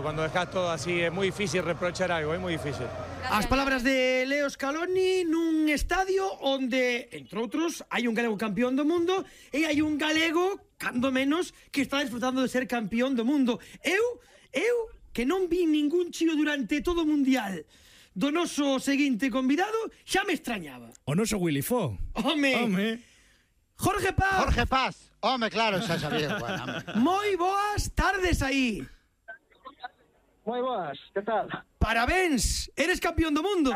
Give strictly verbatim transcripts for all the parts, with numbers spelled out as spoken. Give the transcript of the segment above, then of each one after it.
Cuando dejas todo así es muy difícil reprochar algo, é moi difícil. As palabras de Leo Scaloni nun estadio onde, entre outros, hai un galego campeón do mundo e hai un galego, cando menos, que está disfrutando de ser campeón do mundo. Eu, eu, que non vi ningún chío durante todo o mundial do noso seguinte convidado, xa me extrañaba. O noso Willy Fo. Home! Home! Jorge Paz! Jorge Paz! Home, claro, xa sabía. Bueno, moi boas tardes aí. Moi boas, que tal? Parabéns, eres campeón do mundo.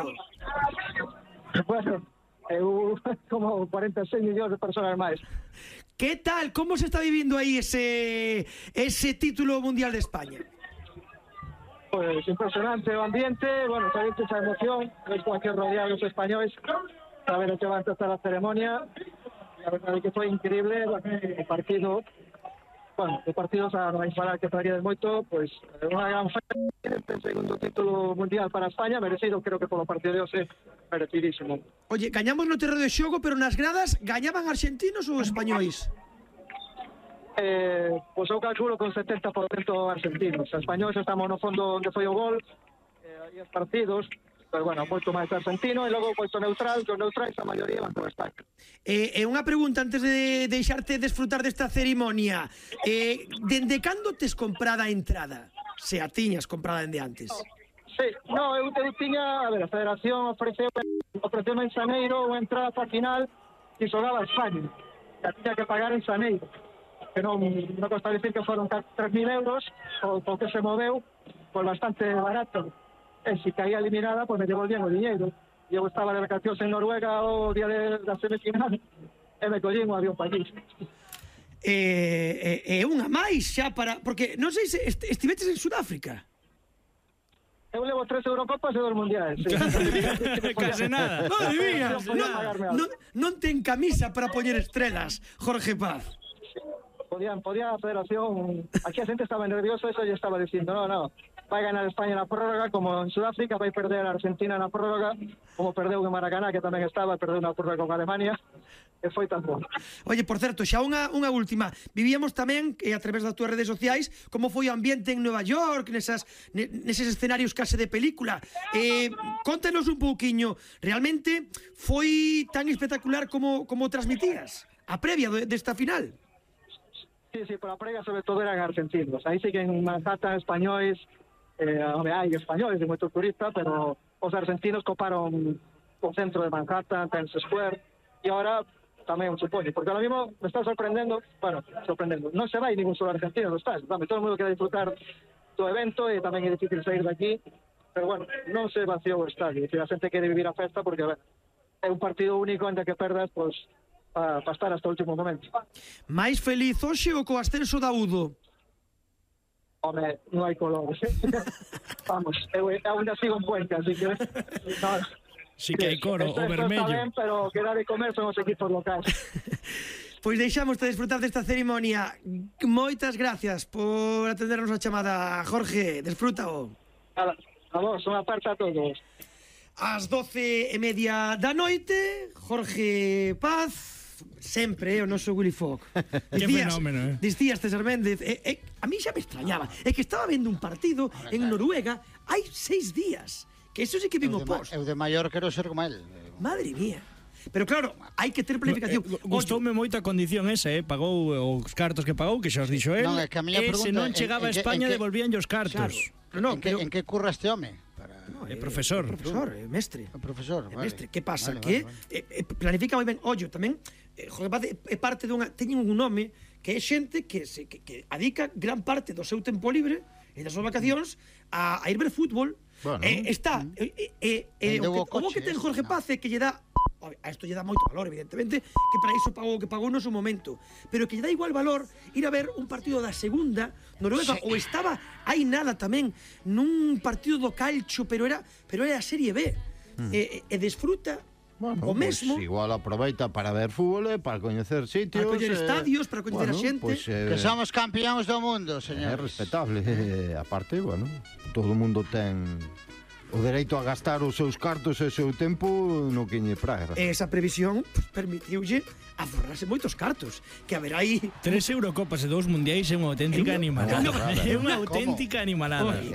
Bueno, eu como cuarenta e seis millóns de persoas máis. Que tal, como se está vivindo aí ese ese título mundial de España? Pues impresionante o ambiente, bueno, sabéis esa emoción, es cualquier rodeado los españoles, saber que va a empezar la ceremonia, la verdad es que fue increíble, el partido, bueno, de partidos a non falar que traería de moito, pues unha gran festa, este segundo título mundial para España, merecido, creo que polo partido de hoxe, merecidísimo. Oye, gañamos no terreno de xogo, pero nas gradas gañaban argentinos ou españois? Eh, pois eu calculo con setenta por cento argentinos. Os españoles estamos no fondo onde foi o gol, eh, e os partidos, pero bueno, moito máis argentino, e logo moito neutral, que os neutrais a maioría van por España. E eh, eh, unha pregunta antes de deixarte desfrutar desta cerimonia. Eh, dende cando tes comprada a entrada? Se a tiñas comprada dende antes? Sí, no, eu, eu tiña, a ver, a Federación ofreceu ofreceu en xaneiro unha entrada para a final que xogaba a España. Que a tiña que pagar en xaneiro. Que non, non costa decir que foron tres mil euros, o, o que se moveu, pues bastante barato. E se caía eliminada, pues me devolvían o diñeiro. E eu estaba de vacacións en Noruega o día de, da semifinal, e me collín o avión para allí. E eh, eh, unha máis xa para... Porque non sei se est estiveches en Sudáfrica. Eu levo tres Eurocopas e dos mundiais. Sí. Case nada. Madre mía, non, non, non ten camisa para poñer estrelas, Jorge Paz. Podían, podía a Federación, aquí a xente estaba nervioso, eso ya estaba dicindo, no, no, vai ganar España na prórroga, como en Sudáfrica, vai perder a Argentina na prórroga, como perdeu en Maracaná, que tamén estaba, perdeu na prórroga con Alemania, e foi tan bom. Oye, por certo, xa unha, unha última, vivíamos tamén, eh, a través das túas redes sociais, como foi o ambiente en Nueva York, nesas, neses escenarios case de película. Eh, contanos un pouquiño, realmente foi tan espectacular como, como transmitías a previa desta final? Sí, sí, por la previa sobre todo eran argentinos. Aí sí que en Manhattan españoles, eh, hai españoles de moito turista, pero os argentinos coparon o centro de Manhattan, Times Square, e ahora tamén supoño, porque ahora mismo me está sorprendendo, bueno, sorprendendo, non se vai ningún solo argentino, non está, todo o mundo quere disfrutar do evento e tamén é difícil sair de aquí, pero bueno, non se vaciou o estadio, e a xente quere vivir a festa porque, bueno, é un partido único onde que perdas, pois, pues, para pa estar hasta o último momento. Mais feliz hoxe ou co ascenso da Udo? Home, non hai colores. Vamos, eu ainda sigo en Cuenca, así que... No, sí que hai coro, o vermello. Está ben, pero que dá de comer son os equipos locais. Pois deixamos de disfrutar desta ceremonia. Moitas gracias por atendernos a chamada, Jorge. Desfrútao. A, a vos, unha parte a todos. Ás doce e media da noite, Jorge Paz, sempre, o noso Willy Fogg. Que fenómeno, eh? Dicías, César Méndez, eh, eh, a mí xa me extrañaba, é que estaba vendo un partido en Noruega hai seis días, que eso sí que vin o post. Eu de maior quero ser como él. Madre mía. Pero claro, hai que ter planificación. Eh, Gustoume moito a condición esa, eh? Pagou os cartos que pagou, que xa os dixo él. Non, é que a miña e pregunta, se non en- chegaba en a que- España, en que- devolvían os cartos. Claro. No, en, que, pero- en que curra este home? Para... No, É profesor. Profesor, é mestre. O profesor, É vale. mestre, que pasa? Vale, que vale, vale. eh, eh, planifica moi ben. Ollo, tamén, eh, Jorge Paz é é parte dunha... Teñen un nome que é xente que, se, que, que adica gran parte do seu tempo libre e das súas vacacións a, a ir ver fútbol. Bueno, eh, está... Eh, eh, eh, Vendeu o, o que, o coche, que ten ese, Jorge no. Paz é que lle dá... A isto lle dá moito valor, evidentemente, que para iso pagou o que pagou no seu momento, pero que lle dá igual valor ir a ver un partido da segunda Noruega, Sí. ou estaba hai nada tamén nun partido do calcio, pero era pero era a Serie B. Mm. E, e desfruta Bueno, o mesmo, pues igual aproveita para ver fútbol, e para coñecer sitios, para coñer eh, estadios, para coñecer bueno, a xente. pues, eh, Que somos campeóns do mundo, é señores. respetable. Eh, aparte, bueno, todo o mundo ten o dereito a gastar os seus cartos e o seu tempo no que lle praga. Esa previsión pues, permitiulle aforrarse moitos cartos, que haberá aí Tres Eurocopas e dous mundiais é unha auténtica É unha- animalada. é unha- É unha auténtica animalada. Oi,